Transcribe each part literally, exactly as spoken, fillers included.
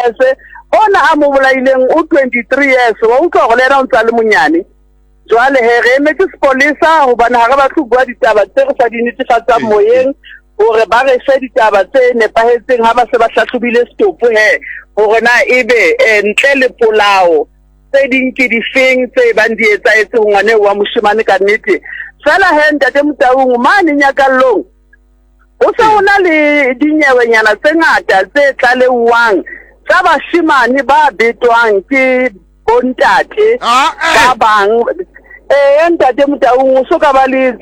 years, ona a mo bolaileng o twenty-three years. Wa utlwa hore le yena o ntsa le monyane. Jwale he re emetse sepolesa hobane ha re batle ho bua ditaba tse re sa di netefatsang moyeng, hore ba re fe ditaba tse nepahetseng ha ba se ba hlahlobile setopo he, hore na ebe ntle le polao tse ding ke difeng tse bang di etsahetse ho ngwane wa moshemane ka nnete. Fela he ntate Motaung, mane Nyakallong ho se ho na le dinyewenyana tse ngata tse tlalewang tsa bashemane ba betwang ke bontate ba bang. Eh ntate Motaung, o so ka ba le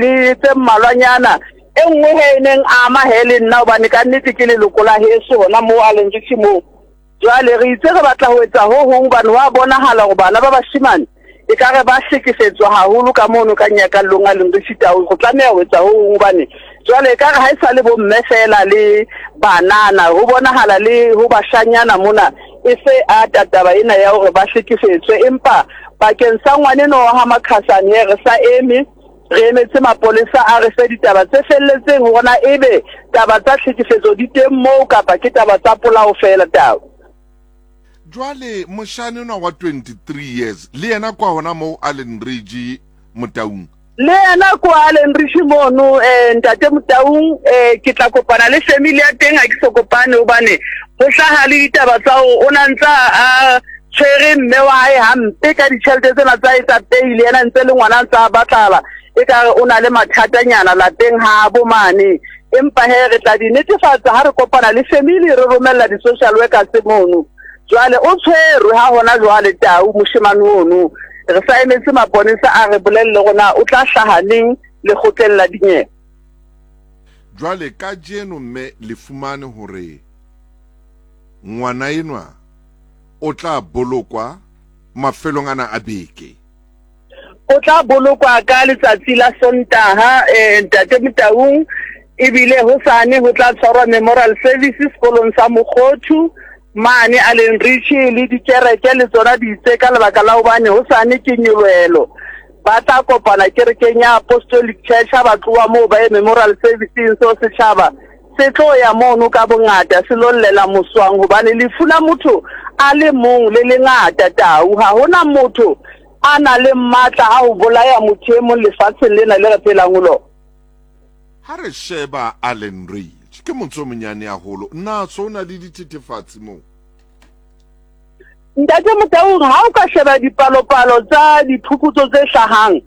le tse mmalwanyana. E nngwe he e neng ama he le nna, hobane ka nnete ke leloko la heso hona moo a leng ke moo. Jwale re itse re batla ho etsa ho hong hobane wa bonahala hore bana ba bashemane e ka re ba hlekefetswa haholo ka mono ka Nyakallong a leng re sitao. Go tlameha ho etsa ho hong hobane jwale e ka re ha e sa le bomme fela le banana, ho bonahala le ho bashanyana mona e se a taba ena ya hore ba hlekefetswe. Empa bakeng sa ngwaneno wa ha Makhasane re sa eme, re emetse mapolesa a re fe ditaba tse felletseng hore na ebe taba tsa hlekefetso di teng moo kapa ke taba tsa polao fela tao. Jwale moshane ona wa twenty-three years le yena kwa hona moo Allen Ridge Motaung, le yena kwa Allen Ridge mono eh ntate Motaung, eh ke tla kopana le family ya teng. Ha ke so kopane hobane ho hlaha le ditaba tsa hore o na ntsa a tshwere mme wa hae hampe ka ditjhelete tsena tsa etsa pele, yena ntse le ngwana ntsa batlala e ka re o na le mathatanyana lapeng ha bo mane. Empa he re tla di netefatsa ha re kopana le family, re romella di-social workers mono. Jwale o tshwerwe ha hona jwale tau moshemane ono, re sa emetse maponesa a re bolelle rona o tla hlaha neng lekgotleng la dinyewe. Jwale kajeno mme le fumane hore ngwana enwa o tla bolokwa mafelong ana a beke. O tla bolokwa ka letsatsi la Sontaha eh ntate Motaung, ebile hosane ho tla tshwarwa memorial services sekolong sa Mokgothu mane Allen Ridge, le dikereke le tsona di itse ka lebaka la hobane hosane ke nyolohelo. Ba tla kopana kerekeng ya Apostolic Church, ha ba tloha moo ba ye memorial serviceng, seo setjhaba se tlo ya mono ka bongata se lo llela moswang, hobane lefu la motho a le mong le lengata tau. Ha hona motho a na le matla a ho bolaya motho e mong lefatsheng lena le re phelang ho lona. Ha re sheba Allen Ridge ke motse o monyane haholo, na so na le dithethefatsi moo? Ntate Motaung, ha o ka sheba dipalopalo tsa diphuputso tse hlahang,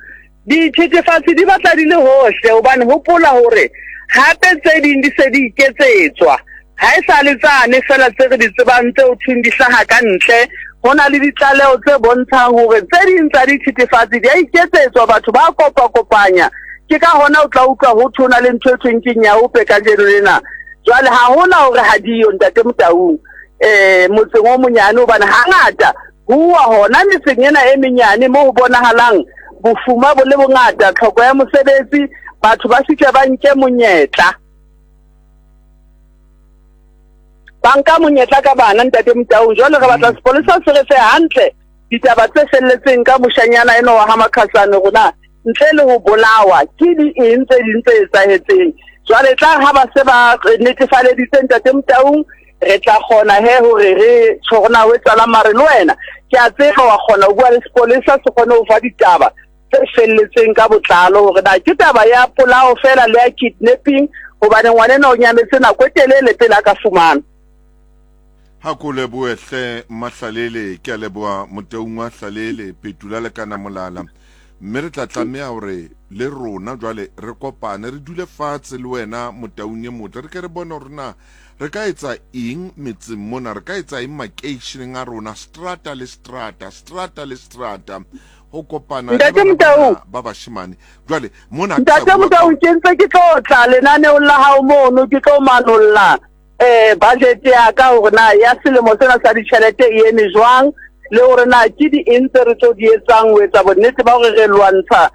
dithethefatsi di batla di le hohle, hobane hopola hore hape tse ding di se di iketsetswa. Ha e sa le tsane fela tse re di tsebang tse ho thweng di hlaha ka ntle, ho na le ditlaleho tse bontshang hore tse ding tsa dithethefatsi di a iketsetswa, batho ba kopa-kopanya. Ke ka hona o tla utlwa ho thwe ho na le ntho e thweng ke nyaope kajeno lena. Jwale ha hona hore ha diyo ntate Motaung eh motseng o monyane, hobane hangata huwa hona metseng ena e menyane moo ho bonahalang bofuma bo le bongata, tlhoko ya mosebetsi, batho ba fihle ba nke monyetla, ba nka monyetla ka bana ntate Motaung. Jwale re batla sepolesa se re fe hantle ditaba tse felletseng ka moshanyana eno wa ha Makhasane, rona ntle le ho bolawa ke di eng tse ding tse etsahetseng. Jwale tla ha ba se ba netefaleditse ntate Motaung, re tla kgona he hore re tjho rona ho etsahala. Mare le wena ke a tseba wa kgona ho bua le sepolesa se kgone ho fa ditaba tse felletseng ka botlalo hore na ke taba ya polao fela le ya kidnapping, hobane ngwaneno o nyametse nako e telele pele a ka fumana. Ha ko lebohe hle Mahlalele, ke a leboha Motaung wa Hlalele Petula le kana molala. Mme re tla tlameha hore le rona jwale re kopane, re dule fatshe le wena Motaung e motle, re ke re bone hore na re ka etsa eng metseng mona, re ka etsa eng makeisheneng a rona, strata le strata, strata le strata, ho kopana Ntate Motaung ba bashemane. Jwale mona Ntate Motaung, ke ntse ke tlo tla lenaneong la hao mono, ke tlo manolla eh budget ya ka hore na ya selemo sena sa ditjhelete e eme jwang, le hore na ke di eng tse re tlo di etsang ho etsa bonnete ba hore re lwantsha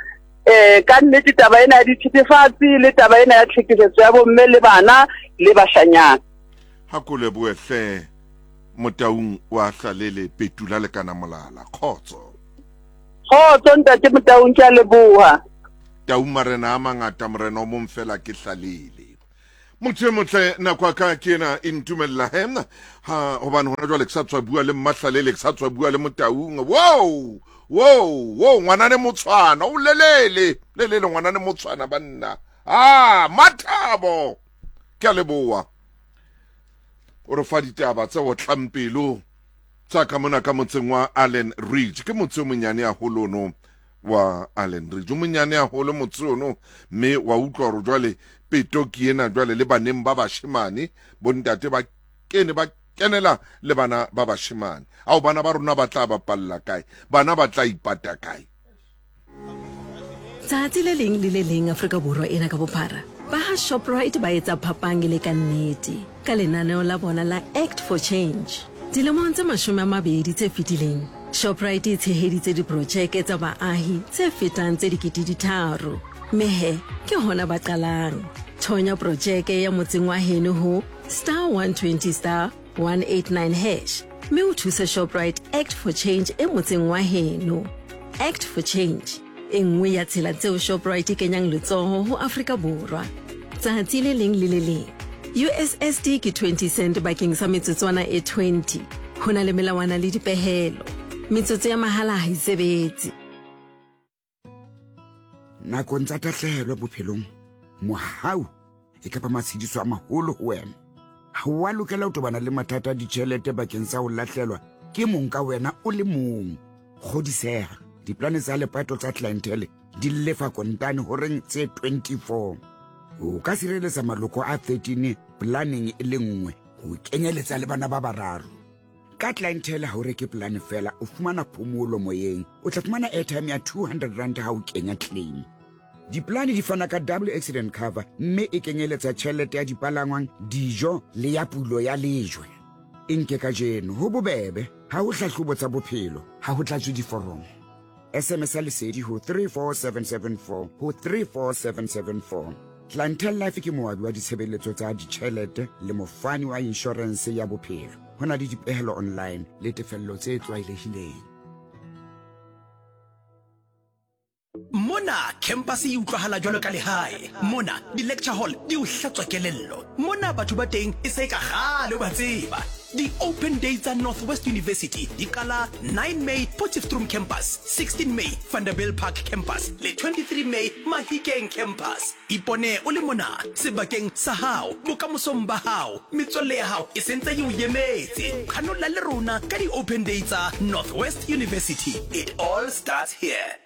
eh ka nnete taba ena ya dithethefatsi le taba ena ya tlhekefetso ya bomme le bana le bashanyana. Ha ko lebohe hle Motaung wa Hlalele Petula le kana molala. Kgotso. Kgotso ntate Motaung, ke a leboha. Tau marena a mangata, morena o mong fela ke Hlalele. Motho e motle, nako ya ka ke ena e ntumella he ha hobane hona jwale ke sa tswa bua le Mmahlalele, ke sa tswa bua le Motaung. Wow, wow, wow, ngwanane motshwana o lelele lelele ngwanane motshwana banna. Ah, Mathabo, ke a leboha o re fa ditaba tse otlang pelo tsa ka mona ka motseng wa Allen Ridge. Ke motse o monyane haholo ono wa Allen Ridge, o monyane haholo motse ono, mme wa utlwa hore jwale peto ke ena jwale le baneng ba bashemane, bontate ba kene ba kenela le bana ba bashemane. Ao bana ba rona ba tla bapalla kae? Bana ba tla ipata kae? Tsatsi le leng le le leng Afrika Borwa ena ka bophara, ba ha Shoprite ba etsa phapang e le ka nnete ka lenaneo la bona la Act for Change. Dilemong tse mashome a mabedi tse fetileng, Shoprite e tsheheditse diprojeke tsa baahi tse fetang tse dikete di tharo. Mme he, ke hona ba qalang. Thonya projeke ya motseng wa heno ho star one twenty star one eight nine hash mme o thuse Shoprite Act for Change e motseng wa heno. Act for Change, e nngwe ya tsela tseo Shoprite e kenyang letsoho ho Afrika Borwa. Tsatsi le leng le le leng. U S S D ke twenty cent bakeng sa metsotswana e twenty. Ho na le melawana le dipehelo. Metsotso ya mahala ha e sebetse. Nakong tsa tahlehelo bophelong, mohau e ka ba matshediso a maholo ho wena. Ha o a lokela ho tobana le mathata a ditjhelete bakeng sa ho lahlelwa ke mong ka wena o le mong. Kgodiseha, diplane tsa lepato tsa clientele di lefa kontane horeng tse twenty-four. O ka sireletsa maloko a thirteen planeng e le nngwe ho kenyeletsa le bana ba bararo. Ka clientele ha o reke plan fela, o fumana phomolo moyeng. O tla fumana airtime ya two hundred rand ha o kenya claim. Diplane di fana ka double accident cover mme e kenyeletsa tjhelete ya dipalangwang, dijo le ya pulo ya lejwe. E nke kajeno ho bobebe, ha ho hlahlobo tsa bophelo, ha ho tlatswe diforomo. S M S ya lesedi ho three four seven seven four ho three four seven seven four. Clientele Life ke moabi wa ditshebeletso tsa ditjhelete le mofani wa insurance ya bophelo. Ho na le dipehelo online le tefello tse tlwaelehileng. Mona campus e utlwahala jwalo ka lehae. Mona di-lecture hall di o hlatswa kelello. Mona batho ba teng e se ka kgale o ba tseba. Di-open day tsa Northwest University di qala nine May Potchefstroom Campus, sixteen May Vanderbijlpark Campus le twenty-three May Mahikeng Campus. Ipone o le mona sebakeng sa hao, bokamosong ba hao, metswalle ya hao e sentse e o emetse. Qhanolla le rona ka di-open day tsa Northwest University. It all starts here.